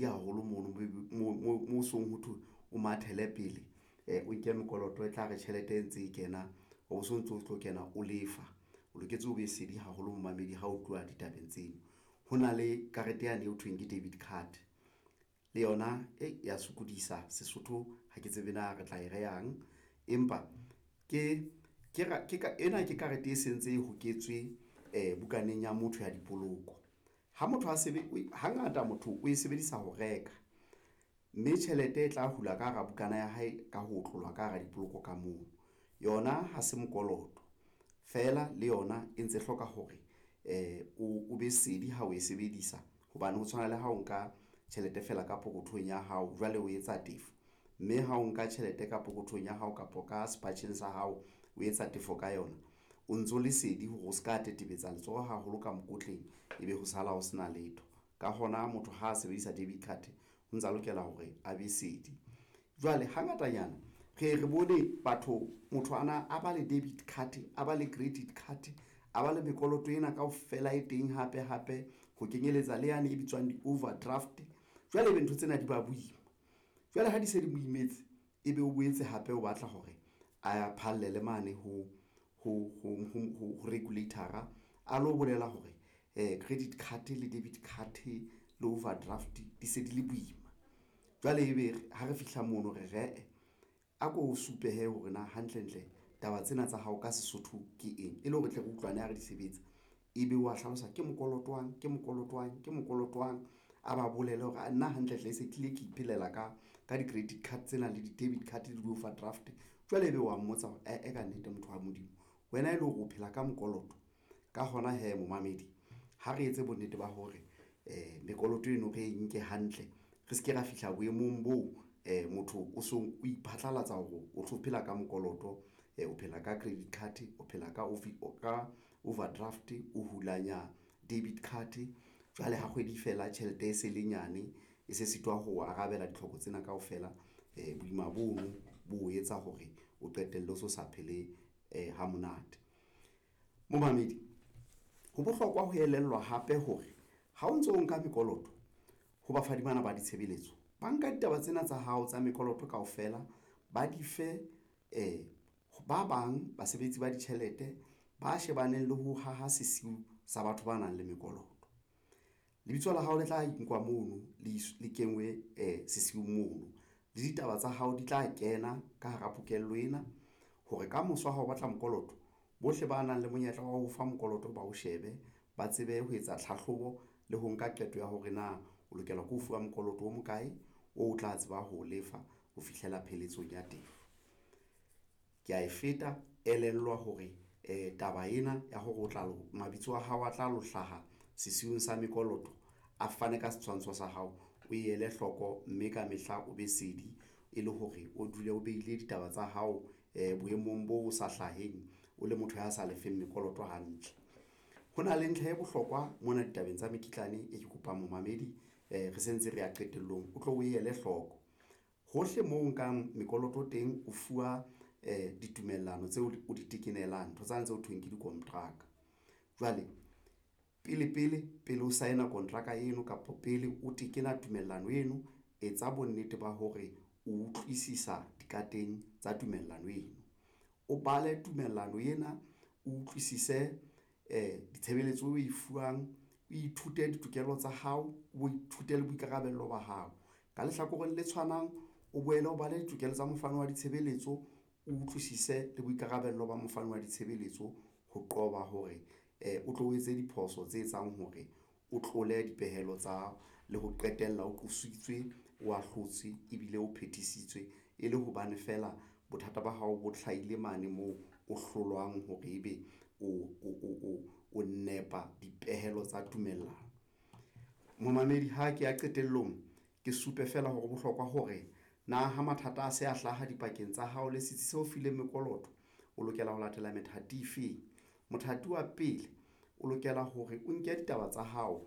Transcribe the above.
Haholo mono mo song ho thwe o mathele pele, o nke mekoloto e tla re tjhelete e ntse e kena, o so ntso o tlo kena, o lefa, o loketse o be sedi haholo momamedi ha o tluwa ditabeng tseno. Ho na le karete yane eo thweng ke debit card le yona e ya sokodisa Sesotho ha ke tsebe na re tla e rehang, empa ke ena ke karete e sentse e hoketswe bukaneng ya motho ya dipoloko. Ha motho a hangata motho o e sebedisa ho reka, mme tjhelete e tla hula ka hara bukana ya hae ka ho otlolla ka hara dipoloko ka moo yona ha se mokoloto feela le yona e ntse hloka hore o be sedi ha o e sebedisa hobane ho tshwana le ha o nka tjhelete feela ka pokothong ya hao, jwale o etsa tefo, mme ha o nka tjhelete ka pokothong ya hao kapa ka sepatjheng sa hao, o etsa tefo ka yona, o ntso le sedi hore o se ka tetebetsa letsoho haholo ka mokotleng, ebe ho sala ho sena letho. Ka hona motho ha a sebedisa debit card o ntsa lokela hore a be sedi. Jwale hangatanyana re ye re bone batho motho ana a ba le debit card, a ba le credit card, a ba le mekoloto ena kaofela e teng hape hape ho kenyeletsa le yane e bitswang di-overdraft. Jwale ebe ntho tsena di ba boima, jwale ha di se di mo imetse, ebe o boetse hape o batla hore a phallele mane ho regulator-a a lo bolela hore credit card le debit card le overdraft di se di le boima. Jwale ebe ha re fihla mono re re a ko supe hee hore na hantlentle taba tsena tsa hao ka Sesotho ke eng, e le hore re tle re utlwane ha re di sebetsa. Ebe wa hlalosa ke mokoloto wang, ke mokoloto wang, ke mokoloto wang, a ba bolele hore nna hantlentle e se tlile ke iphelela ka di-credit card tsena le di-debit card le di-overdraft. Jwale ebe wa mmotsa hore ee kannete motho wa Modimo wena e le hore o phela ka mokoloto. Ka hona hee momamedi ha re etse bonnete ba hore mekoloto eno re e nke hantle, re se ke ra fihla boemong boo motho o so o iphatlalatsa hore o tlo phela ka mokoloto, o phela ka credit card, o phela ka overdraft, o hulanya debit card. Jwale ha kgwedi fela tjhelete e se le nyane, e se sitwa ho arabela ditlhoko tsena kaofela. Boima bono bo etsa hore o qetelle o so sa phele ha monate. Momamedi ho bohlokwa ho elellwa hape hore ha o ntso o nka mekoloto ho bafani bana ba ditshebeletso, ba nka ditaba tsena tsa hao tsa mekoloto kaofela, ba di fe ba bang basebetsi ba ditjhelete ba shebaneng le ho haha sesiu sa batho ba nang le mekoloto. Lebitso la hao le tla nkwa mono le kengwe sesiung mono le ditaba tsa hao di tla kena ka hara pokello ena hore kamoso ha o batla mokoloto, bohle ba nang le monyetla wa ho fa mokoloto ba o shebe, ba tsebe ho etsa tlhahlobo le ho nka qeto ya hore na o lokela ke ho fuwa mokoloto o mokae o tla tseba ho lefa ho fihlela pheletsong ya tefo. Ke a e feta, elellwa hore taba ena ya hore o tla mabitso a hao a tla lo hlaha sesiung sa mekoloto, a fane ka setshwantsho sa hao, o ele hloko mme kamehla o be sedi e le hore o dule o behile ditaba tsa hao boemong bo sa hlaheng, o le motho ya sa lefeng mekoloto hantle. Ho na le ntlha e bohlokwa mona ditabeng tsa mekitlane e ke kopang momamedi, re sentse re ya qetellong, o tlo o ele hloko hohle moo o nkang mekoloto teng, o fuwa ditumellano tseo o di tekenelang ntho tsane tse ho thweng ke dikontraka. Jwale pele pele pele o sign-a kontraka eno kapa pele o tekena tumellano eno, etsa bonnete ba hore o utlwisisa dikateng tsa tumellano eno, o bale tumellano ena, o utlwisise ditshebeletso o e fuwang, o ithute ditokelo tsa hao, o ithute le boikarabelo ba hao. Ka lehlakoreng le tshwanang, o boele o bale ditokelo tsa mofani wa ditshebeletso, o utlwisise le boikarabelo ba mofani wa ditshebeletso ho qoba hore o tlo o etse diphoso tse etsang hore o tlole dipehelo tsa le ho qetella o qositswe, o ahlotswe ebile o phethisitswe e le hobane feela bothata ba hao bo hlahile mane moo o hlolwang hore ebe o nepa dipehelo tsa tumellano. Momamedi ha ke ya qetellong, ke supe feela hore bohlokwa hore na ha mathata a se a hlaha dipakeng tsa hao le setsi seo fileng mekoloto, o lokela ho latela methati efeng. Mothati wa pele o lokela hore o nke ditaba tsa hao.